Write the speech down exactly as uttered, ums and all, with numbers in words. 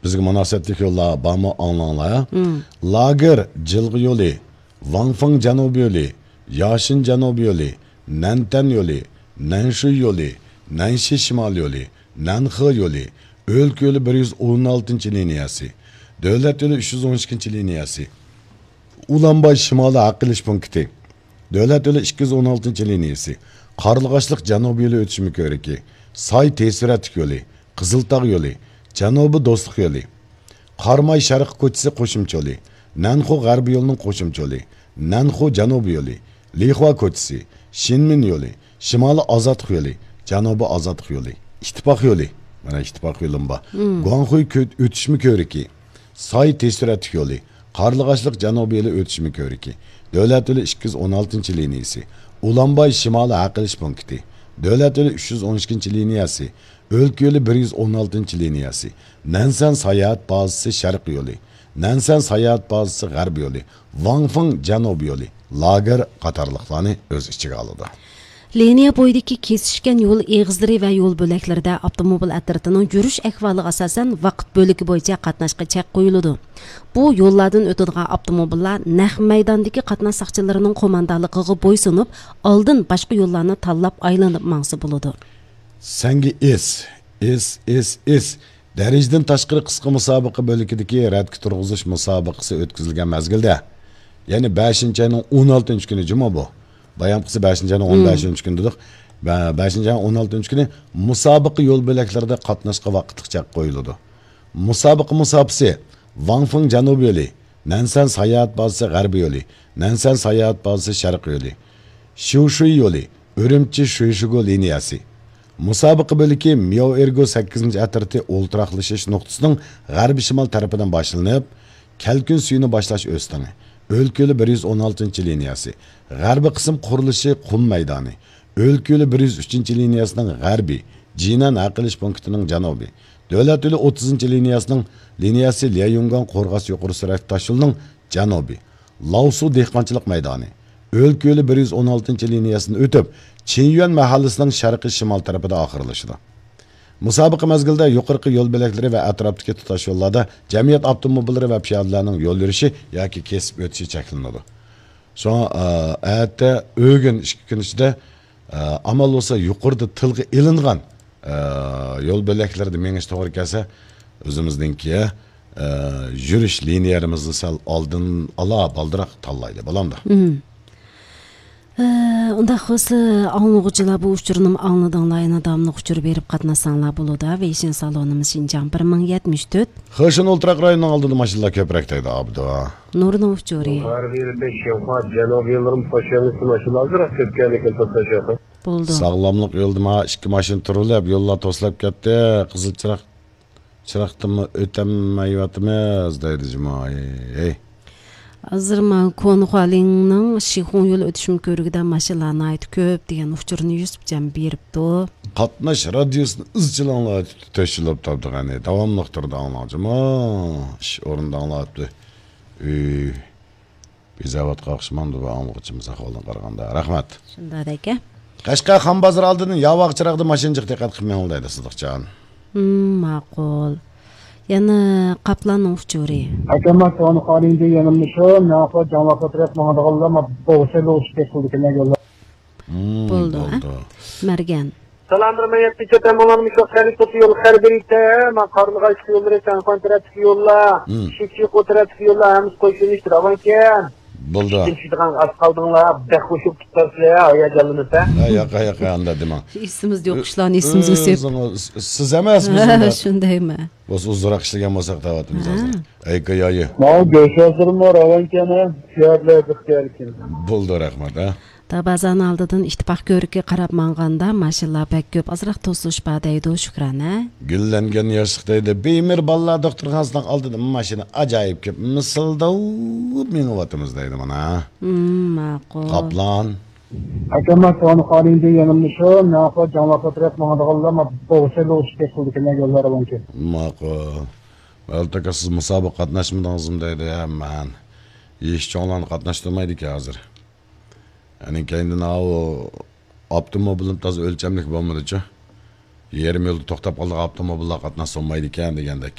بىزگە مۇناسىۋەتلىك يوللار بارمۇ، ئاڭلاڭلار. لاگېر جىلغا يولى، ۋاڭفېڭ جەنۇبىي يولى، ياشىن جەنۇبىي يولى، نەنتەن يولى، نەنشۇي يولى، نەنشى شىمال يولى، نەنخې يولى، ئۆلكە يولى بىر يۈز ئون ئالتىنچى لىنىيەسى، دۆلەت يولى ئۈچ يۈز ئون ئىككىنچى لىنىيەسى، ئۇلانباي شىمالىي ھەق ئېلىش پونكىتى، دۆلەت يولى ئىككى يۈز ئون ئالتىنچى لىنىيەسى، قارلىغاچلىق جەنۇبىي يولى ئۆتۈشمە كۆۋرۈكى، ساي تېز سۈرئەتلىك يولى، قىزىلتاغ يولى، جەنۇبىي دوستلۇق يولى، قاراماي شەرقىي كوچىسى قوشۇمچە يولى، نەنخۇ غەربىي يولىنىڭ قوشۇمچە يولى، نەنخۇ جەنۇبىي يولى، لىخۇا كوچىسى، شىنمىن يولى، شىمالىي ئازادلىق يولى، جەنۇبىي ئازادلىق يولى، ئىتتىپاق يولى، مانا ئىتتىپاق يولىمۇ بار، گۇاڭخۇي كۆ-، ئۆتۈشمە كۆۋرۈكى، ساي تېز سۈرئەتلىك يولى، قارلىغاچلىق جەنۇبىي يولى ئۆتۈشمە كۆۋرۈكى، دۆلەت يولى ئىككى يۈز ئون ئالتىنچى لىنىيەسى، ئۇلانباي شىمالىي ھەق ئېلىش پونكىتى، دۆلەت يولى ئۈچ يۈز ئون ئىككىنچى لىنىيەسى، ئۆلكە يولى بىر يۈز ئون ئالتىنچى لىنىيەسى، نەنسەن ساياھەت بازىسى شەرقىي يولى، نەنسەن ساياھەت بازىسى غەربىي يولى، ۋاڭفېڭ جەنۇبىي يولى، لاگېر قاتارلىقلارنى ئۆز ئىچىگە ئالىدۇ. لىنىيە بويىدىكى كېسىشكەن يول ئېغىزلىرى ۋە يول بۆلەكلىرىدە ئاپتوموبىل ئەترىتىنىڭ يۈرۈش ئەھۋالىغا ئاساسەن ۋاقىت بۆلىكى بويىچە قاتناشقا چەك قويۇلىدۇ. بۇ يوللاردىن ئۆتىدىغان ئاپتوموبىللار نەق مەيداندىكى قاتناش ساقچىلىرىنىڭ قوماندانلىقىغا بويسۇنۇپ، ئالدىن باشقا يوللارنى تاللاپ ئايلىنىپ ماڭسا بولىدۇ. سەنگە ئېس، ئېس، ئېس، ئېس. دەرىجىدىن تاشقىرى قىسقا مۇسابىقە بۆلىكىدىكى رەتكە تۇرغۇزۇش مۇسابىقىسى ئۆتكۈزۈلگەن مەزگىلدە، يەنى بەشىنچى ئاينىڭ ئون ئالتىنچى كۈنى جۇمۇ بۇ. بايامقىسى بەشىنچى ئاينىڭ ئون بەشىنچى كۈنى دېدۇق. بە-، بەشىنچى ئاينىڭ ئون ئالتىنچى كۈنى مۇسابىقە يول بۆلەكلىرىدە قاتناشقا ۋاقىتلىق چەك قويۇلىدۇ. مۇسابىقە مۇساپىسى ۋاڭفېڭ جەنۇبىي يولى، نەنسەن ساياھەت بازىسى غەربىي يولى، نەنسەن ساياھەت بازىسى شەرقىي يولى، شيۇشۇي يولى، ئۈرۈمچى شۇيشىگۇ لىنىيەسى. مۇسابىقە بۆلىكى مياۋئېرگو سەككىزىنچى ئەترىتى ئولتۇراقلىشىش نۇقتىسىنىڭ غەربىي شىمال تەرىپىدىن باشلىنىپ، كەلكۈن سۈيىنى باشلاش ئۆستىڭى، ئۆلكە يولى بىر يۈز ئون ئالتىنچى لىنىيەسى، غەربىي قىسىم قۇرۇلۇشى قۇم مەيدانى، ئۆلكە يولى بىر يۈز ئۈچىنچى لىنىيەسىنىڭ غەربىي، جىنەن ھەق ئېلىش پونكىتىنىڭ جەنۇبى، دۆلەت يولى ئوتتۇزىنچى لىنىيەسىنىڭ لىنىيەسى ليەيۇڭگاڭ قورغاس يۇقىرى سۈرئەتلىك تاشيولىنىڭ جەنۇبى، لاۋسۇ دېھقانچىلىق مەيدانى، ئۆلكە يولى بىر يۈز ئون ئالتىنچى لىنىيەسىدىن ئۆتۈپ، چىنيۈەن مەھەللىسىنىڭ شەرقىي شىمال تەرىپىدە ئاخىرلىشىدۇ. مۇسابىقە مەزگىلىدە يۇقىرىقى يول بۆلەكلىرى ۋە ئەتراپتىكى تۇتاش يوللاردا جەمئىيەت ئاپتوموبىللىرى ۋە پىيادىلەرنىڭ يول يۈرۈشى ياكى كېسىپ ئۆتۈشى چەكلىنىدۇ. شۇڭا، ئە، ئەتە، ئۆگۈن ئىككى كۈن ئىچىدە، ئە، ئامال بولسا يۇقىرىدا تىلغا ئېلىنغان، ئە، يول بۆلەكلىرىدە مېڭىش توغرا كەلسە، ئۆزىمىزنىڭكى، ئە، يۈرۈش لىنىيەلىرىمىزنى سەل ئالدىن ئالا بالدۇرراق تاللايلى، بولامدۇ؟ ئە، ئۇنداق بولسا، ئاڭلىغۇچىلار بۇ ئۇچۇرنىمۇ ئاڭلىدىڭلار، يەنە داۋاملىق ئۇچۇر بېرىپ قاتناشساڭلار بولىدۇ. ۋېيشىن سالونىمىز شىنجاڭ بىر مىڭ يەتمىش تۆت. خېشىن ئولتۇراق رايونىنىڭ ئالدىدا ماشىنىلار كۆپرەك دەيدۇ، ئابدۇ. نۇرنىڭ ئۇچۇرى. غەربىي بەش ياقا، جەنۇبىي يوللىرىمىز توشۇلغان ماشىنىلار ئازراق كۆپ كەلدى، كۆپ توشۇلغان. بولىدۇ. ساغلاملىق يولىدا مانا ئىككى ماشىنا تۇرۇلۇپ، يوللار توسۇلۇپ كەتتى. قىزىل چىراغ، چىراغدىنمۇ ئۆتەلمەيۋاتىمىز دەيدۇ جۇمۇ. ھەي، ھەي. ھازىر مانا كونخۇالىڭنىڭ شىخۇڭ يول ئۆتۈشمە كۆۋرۈكىدە ماشىنىلار ناھايىتى كۆپ دېگەن ئۇچۇرنى يۈسۈپجان بېرىپتۇ. قاتناش رادىيوسىنى ئىزچىل ئاڭلاۋاتىدۇ، تۆت يىللىق تاپتىغانى داۋاملىق تۇرىدۇ ئاڭلاڭچىمۇ. ئىش ئورنىدا ئاڭلاۋاتىدۇ. ئۆي بېزەۋاتقان ئوخشىمامدۇ بۇ ئاڭلىغۇچىمىز ئەھۋالدىن قارىغاندا؟ رەھمەت. شۇنداق ئەكە. قەشقەر خان بازىرى ئالدىدىن ياۋاق چىراغدا ماشىنا جىق، دىققەت قىلىپ مېڭىڭ دەيدۇ سىدىقجان. ھىم، ماقۇل. يەنە قاپلاننىڭ ئۇچۇرى. ئاكامما سوغان خالىنجى يېنىمدا شۇ، ناپا جاڭلاققا تەرەپ ماڭىدىغانلار ما بوغچە لوغچە كەتكۈلدىكىنە يوللار. ھىم، بولدى، ھە؟ بولدى. مەرگەن. سالام، بىر مىڭ يەتتە چەتەن مۇلان مۇشۇ خەرىتىسى يول خەربىرىتە، ما قارلىغاچ يوللىرى سەنخۇەن تەرەپتىكى يوللار، ھىم. شىچىقو تەرەپتىكى يوللار ھەممىسى قوشۇلۇشتى راۋانكەن. بولدى. ئىشتىن چۈشىدىغان ئاز قالدىڭلار، بەك خوشۇپ كېتىپسىلەر، ھاياجانلىنىسەن. ھە، ياق، ياق، ئاندا دېمەڭ. ئېسىمىزدە يوق ئىشلارنى ئېسىمىزگە سېلىپ. ئۆزىڭىز، سىز ئەمەس، بىز ھە، ئۇنداق. شۇندايمەن. بولسا ئۇزۇنراق ئىشلىگەن بولساق دەۋاتىمىز ھە. ھازىر. ئەي، كايايى. ماۋۇ گۆش ھازىرمۇ راۋانكەن ھە، پىيادىلەر ئىختىياركەن. بولدى، رەھمەت، ھە. دابازان ئالدىدىن ئىتتىپاق كۆۋرۈكىگە قاراپ ماڭغاندا ماشىنىلار بەك كۆپ، ئازراق توسۇلۇش بار دەيدۇ شۈكران، ھە. گۈللەنگەن ياشلىق دەيدۇ، بىمىر بالىلار دوختۇرخانىسىنىڭ ئالدىدا ماشىنا ئاجايىپ كۆپ، مىسىلداپ مېڭىۋاتىمىز دەيدۇ مانا. ھىم، ماقۇل. قاپلان. ئاكامما سوغان خالىنجى يېنىمدا شۇ، ناپا جاڭلاققا تەرەپ ماڭىدىغانلار ما بوغچە لوغچە كەتكۈلدىكىنە يوللار راۋانكەن. ماقۇل. مەلۇت ئاكا، سىز مۇسابىقە قاتناشمىدىڭىزمۇ دەيدۇ، ھە، مەن. يېشى چوڭلارنى قاتناشتۇرمايدىكەن ھازىر. يەنى كەينىدىن ئاۋۇ ئاپتوموبىلىم تازا ئۆلچەملىك بولمىدىچۇ. يېرىم يولدا توختاپ قالىدىغان ئاپتوموبىللار قاتناشسا بولمايدىكەن دېگەندەك.